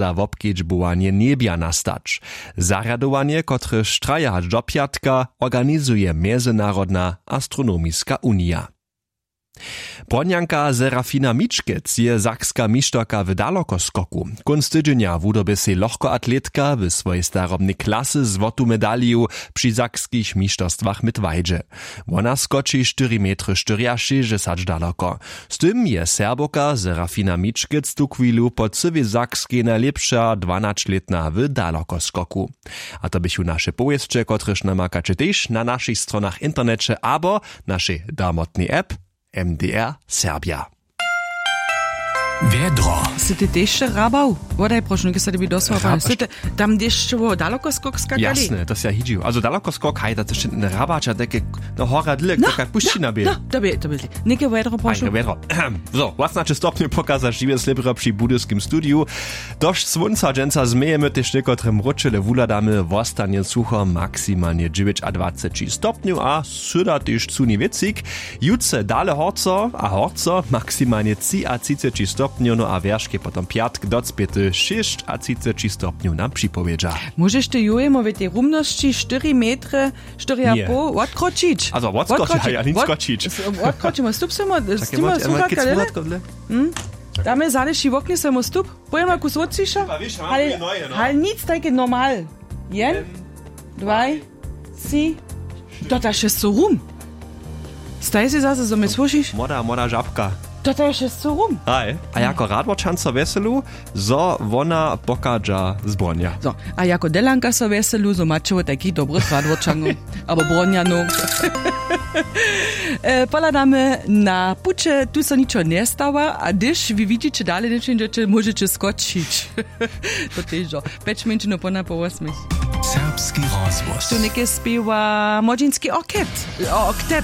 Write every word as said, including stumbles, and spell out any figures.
za wobkedźbowanje njebja nastać. Zarjadowanje, kotrež traja hač do pjatka, organizuje mjezynarodna astronomiska unija. Bronnjanka Serafina Mičkec je sakska mišterka w dalokoskoku. Kónc tydźenja wudobje sej lochkoatletka w swojej starobnej klasy złotu medaliju při sakskich mišterstwach w midwajdźe. Wona skoči štyri metry štyriašěsćdźesać daloko. Z tym je Serbowka Serafina Mičkec tuchwilu po cyłej Sakskej najlěpša dwanaćlětna w dalokoskoku. A to běchu naše powěsće, kotrež namakaće tež na našich stronach w interneće abo našej damotnej app M D R Serbja. Wjedro. Sy ty tež hrabał? Wodaj prošnu, ke so tebi dosłał. Tam dešćowo daloko skok skakali. Jasne, to si ja hidźił. Also daloko skok, haj, to je hrabać, a take, no, hora dyle, no, kak pušćina bě. No, to bě, to bě. Něke wjedro prošnu. Wjedro. So, własnaće stopnju pokaza žiwe slěbro při budyskim studiju. Došć słónca dźensa změjemy tež někotre mróčele wuhladamy, wostanje sucho, maksimalnje dźewjećadwaceći stopnju a syda tež cuni wěcik. Jutře dale horco a horco, maksimalnje třiatřiceći stopnjow, no a wjerške potom pjatk docpěty šěsćatřiceći stopnjow nam připowědźa. Móžeš ty jujemo w tej rumnosći štyri metry, štyri a poł odkročić? Also odkročić, haj, a nic skočić. Odkročimo, stup semo, stima słuchatka dele. Damy zaleši woknje semo stup. Pojema kus wotřiša. Hal nic tajke normal. Jen, dwaj, tři. Dotaše so rum. Staj si zaso zo mje słóšiš? Młoda młoda žabka. Dotaše so rum. Haj. A jako radworčanco wjeselu, zo wona pochadźa z Bronnja. Zo, a jako delanka so wjeselu, zo maće wot tajkich dobrych radworčanow abo Bronnjanow. Pohladamy na puće, tu so ničo njestawa, a hdyž wy widźiće dale njepřińdźeće, móžeće skočić. To težo. Pjeć mjeńšinow pona po wosmich. Serbski rozhłos tu něke spěwa młodźinski orket. Orket.